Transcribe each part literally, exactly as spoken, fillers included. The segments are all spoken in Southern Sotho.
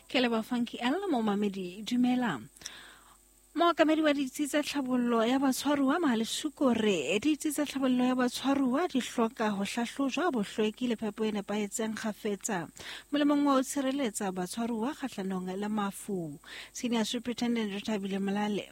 Ke leboha Funky L momamedi dumela. Mookamedi wa ditsi tsa tlhabollo ya batshwaruwa Mahalesuko re ditsi tsa tlhabollo ya batshwaruwa di hloka ho hlahlojwa bohlweki le phepo e nepahetseng kgafetsa molemong wa ho tshireletsa batshwaruwa kgahlanong le mafu. Senior Superintendent Rethabile Molale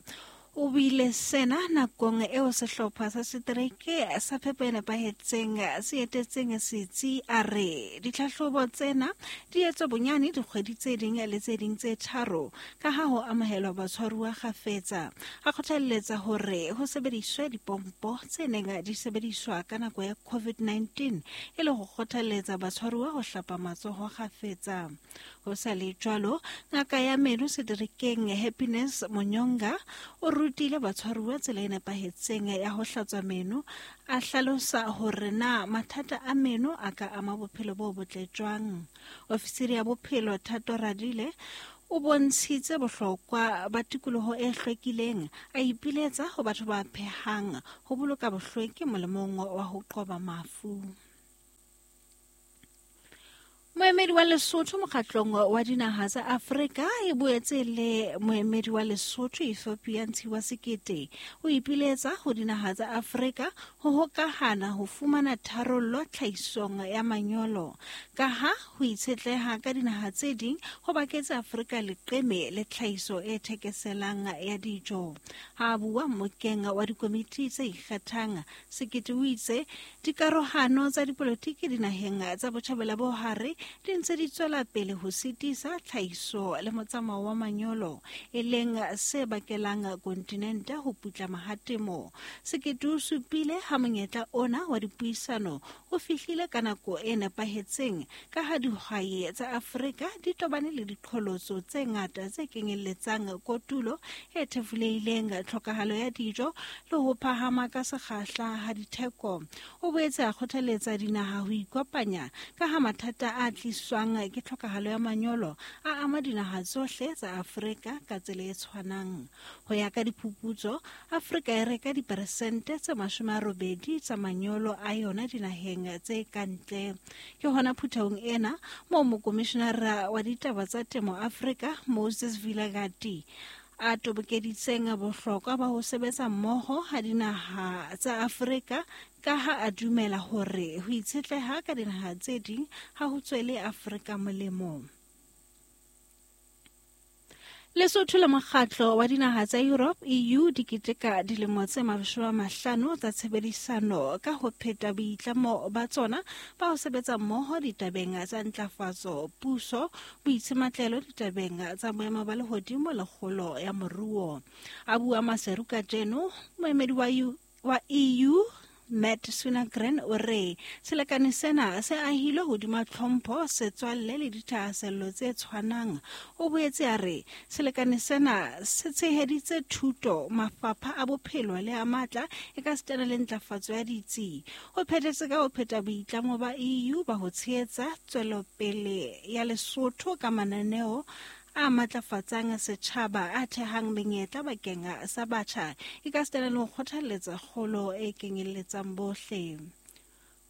o buile sena nakong eo sehlopha sa setereke sa phepo e nepahetseng se etetseng setsi. A re ditlhahlobo tsena di etswa bonyane dikgwedi tse ding le tse ding tse tharo ka ha ho amohelwa batshwaruwa kgafetsa. A kgothalletsa hore ho sebediswe dipompo tse neng di sebediswa ka nako ya COVID nineteen e le ho kgothalletsa batshwaruwa ho hlapa matsoho kgafetsa. Ho sa le jwalo, ngaka ya meno seterekeng Happiness Monyonga o rutile batshwaruwa tsela e nepahetseng ya ho hlatswa meno, a hlalosa hore na mathata a meno a ka ama bophelo bo botle jwang. Ofisiri ya bophelo Thato Radile o bontshitse bohlokwa ba tikoloho e hlwekileng, a ipiletsa ho batho ba phehang ho boloka bohlweki molemong wa ho qoba mafu. Moemedi wa Lesotho mokgatlong wa dinaha tsa Afrika e boetse le moemedi wa Lesotho Ethiopia Ntshiwa Sekete o ipiletsa ho dinaha tsa Afrika ho hokahana ho fumana tharollo tlhahisong ya manyolo, ka ha ho itshetleha ka dinaha tse ding ho baketse Afrika leqeme le tlhahiso e thekeselang ya dijo. Ha a bua mmokeng wa dikomiti tse ikgethang, Sekete o itse dikarohano tsa dipolotiki dinaheng tsa botjhabela bo hare di ntse di tswela pele ho sitisa tlhahiso le motsamao wa manyolo, e leng se bakelang kontinente ho putlama ha temo. Sekete o supile ha monyetla ona wa dipuisano o fihlile ka nako e nepahetseng, ka ha dihwai tsa Afrika di tobane le diqholotso tse ngata tse kenyelletsang kotulo e thefulehileng, tlhokahalo ya dijo le ho phahama ka sekgahla ha ditheko. O boetse a kgothaletsa dinaha ho ikopanya ka ha mathata a tliswang ke tlhokahalo ya manyolo a ama dinaha tsohle tsa Afrika ka tsela e tshwanang. Ho ya ka diphuputso, Afrika e reka diperesente tse mashome a robedi tsa manyolo a yona dinaheng tse ka ntle. Ke hona phuthehong ena moo mokomishenara wa ditaba tsa temo Afrika Moses Vilagati a tobokeditseng bohlokwa ba ho sebetsa mmoho ha dinaha tsa Afrika, ka ha a dumela hore ho itshetleha ka dinaha tse ding ha ho tswele Afrika molemo. Lesotho le mokgatlo wa dinaha tsa Europe E U di keteka dilemo tse mashome a mahlano tsa tshebedisano ka ho pheta boitlamo ba tsona ba ho sebetsa mmoho ditabeng tsa ntlafatso, puso, boitsematlelo ditabeng tsa boemo ba lehodimo le kgolo ya moruo. A bua Maseru kajeno, moemedi wa U, wa E U Matt Sunagren o re selekane sena se ahilwe hodima tlhompho, setswalle le dithahasello tse tshwanang. O boetse a re selekane sena se tsheheditse thuto, mafapha a bophelo le a matla e ka sitana le ntlafatso ya ditsi. O phethetse ka ho pheta boitlamo ba E U ba ho tshehetsa tswelopele ya Lesotho ka mananeo a matlafatsang setjhaba a thehang menyetla bakeng sa batjha e ka sitana le ho kgothalletsa kgolo e kenyelletsang bohle.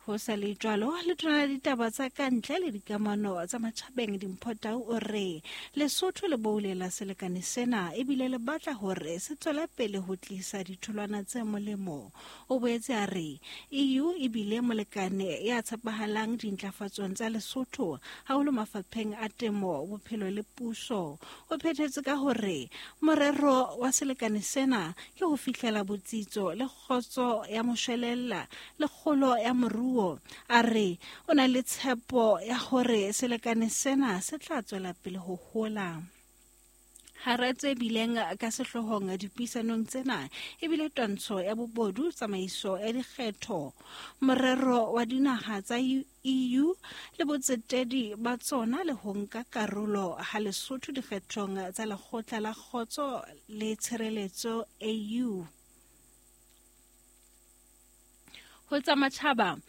Ho sa le jwalo, letona la ditaba tsa kantle le dikamano tsa matjhabeng Dimpho Tau o re Lesotho le boulela selekane sena ebile le batla hore se tswele pele ho tlisa ditholwana tse molemo. O boetse a re E U ebile molekane ya tshepahalang dintlafatsong tsa Lesotho haholo mafapheng a temo, bophelo le puso. O phethetse ka hore morero wa selekane sena ke ho fihlela botsitso le kgotso ya moshwelella le kgolo ya moruo. A re o na le tshepo ya hore selekane sena se tla tswela pele ho hola. Hara tse bileng ka sehloohong dipuisanong tsena ebile twantsho ya bobodu, tsamaiso ya dikgetho, morero wa dinaha tsa E U le botsetedi ba tsona le ho nka karolo ha Lesotho dikgethong tsa lekgotla la kgotso le tshireletso A U. Ho tsa matjhaba,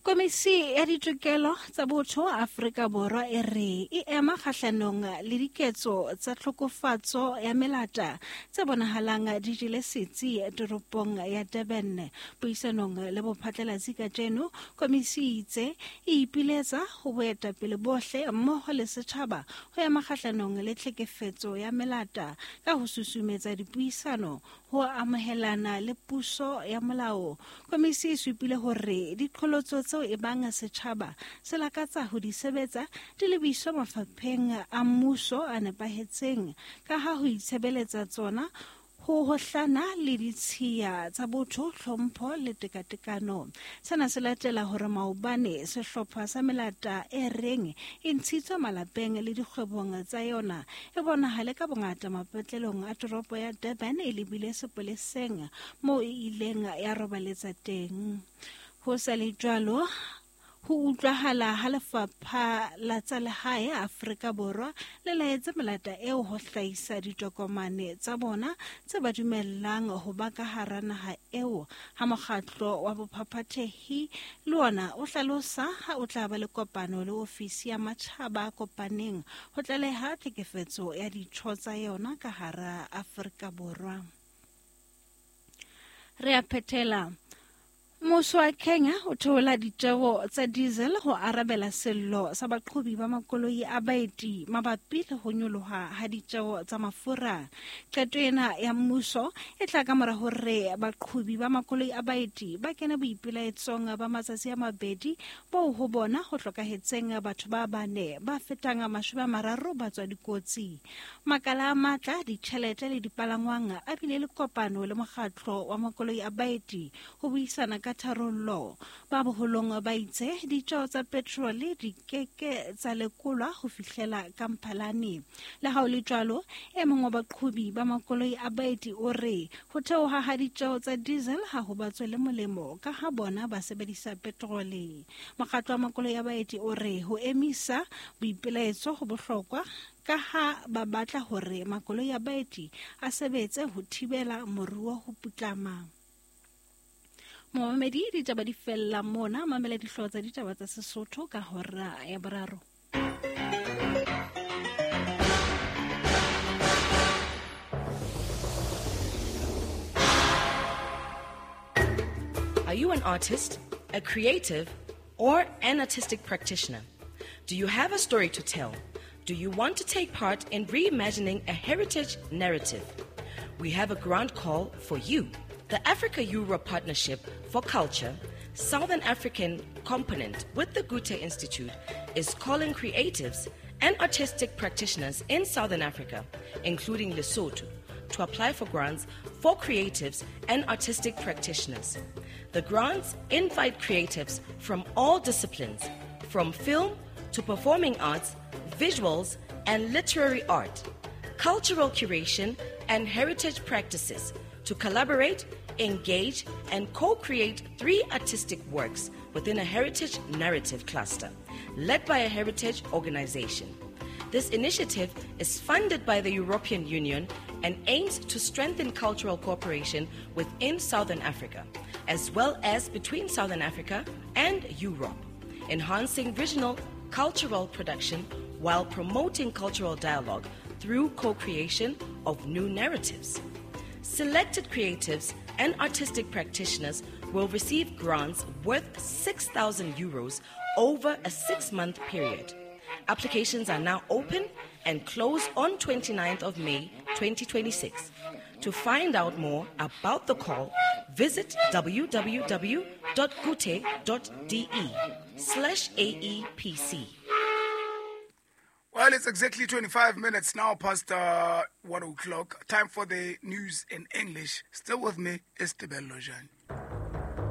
Komisi ya ditokelo tsa botho Afrika Borwa e re e ema kgahlanong le diketso tsa tlhokofatso ya melata tse bonahalang di jele setsi toropong ya Durban. Puisanong le bophatlalatsi kajeno, komisi e itse e ipiletsa ho boetapele bohle mmoho le setjhaba ho ema kgahlanong le tlhekefetso ya melata ka ho susumetsa dipuisano ho amohelana le puso ya molao. Komisi e supile hore diqholotso tseo e bang setjhaba se lakatsa ho di sebetsa di lebiswa mafapheng a mmuso a nepahetseng ka ha ho itshebeletsa tsona ho hohlana le ditshiya tsa botho, hlompho le tekatekano. Sena se latela hore maobane sehlopha sa melata e reng e ntshitswe malapeng le dikgwebong tsa yona e bonahale ka bongata mapatlelong a toropo ya Durban e lebile sepoleseng moo e ileng ya robaletsa teng. Ho sa le jwalo, ho utlwahala ha lefapha la tsa lehae Afrika Borwa le laetse melata eo ho hlahisa ditokomane tsa bona tse ba dumellang ho ba ka hara naha eo. Ha mokgatlo wa bophaphathehi le ona o hlalosa ha o tla ba le kopano le ofisi ya matjhaba a kopaneng ho tlaleha tlhekefetso ya ditho tsa yona ka hara Afrika Borwa. Re a phethela. Mmuso wa Kenya o theola ditjeho tsa diesel ho arabela sello sa baqhobi ba makoloi a baeti mabapi le ho nyoloha ha ditjeho tsa mafura. Qeto ena ya mmuso e tla ka mora hore baqhobi ba makoloi a baeti ba kene boipelaetsong ba matsatsi a mabedi boo ho bona ho hlokahetseng batho ba bane ba fetang mashome a mararo ba tswa dikotsi. Makala a matla, ditjhelete le dipalangwang a bile le kopano le mokgatlo wa makoloi a baeti ho buisana ka tharollo. Ba boholong ba itse ditjeo tsa petrole di keke tsa lekolwa ho fihlela ka Mphalane. Le ha ho le jwalo, e mong wa baqhobi ba makoloi a baeti o re ho theoha ha ditjeo tsa diesel ha ho ba tswele molemo ka ha bona ba sebedisa petrole. Mokgatlo wa makoloi a baeti o re ho emisa boipelaetso ho bohlokwa ka ha ba batla hore makoloi a baeti a sebetse ho thibela moruo ho putlama. Momamedi, ditaba di fella mona. Mamela dihlooho tsa ditaba tsa Sesotho ka hora ya boraro. Are you an artist, a creative, or an artistic practitioner? Do you have a story to tell? Do you want to take part in reimagining a heritage narrative? We have a grant call for you. The Africa-Europe Partnership for Culture, Southern African component with the Goethe Institute, is calling creatives and artistic practitioners in Southern Africa, including Lesotho, to apply for grants for creatives and artistic practitioners. The grants invite creatives from all disciplines, from film to performing arts, visuals and literary art, cultural curation and heritage practices, to collaborate, engage, and co-create three artistic works within a heritage narrative cluster, led by a heritage organization. This initiative is funded by the European Union and aims to strengthen cultural cooperation within Southern Africa, as well as between Southern Africa and Europe, enhancing regional cultural production while promoting cultural dialogue through co-creation of new narratives. Selected creatives and artistic practitioners will receive grants worth six thousand euros over a six-month period. Applications are now open and close on twenty-ninth of May, twenty twenty-six. To find out more about the call, visit www.goethe.de slash A E P C. Well, it's exactly twenty-five minutes now past uh, one o'clock. Time for the news in English. Still with me is Tebello Jan.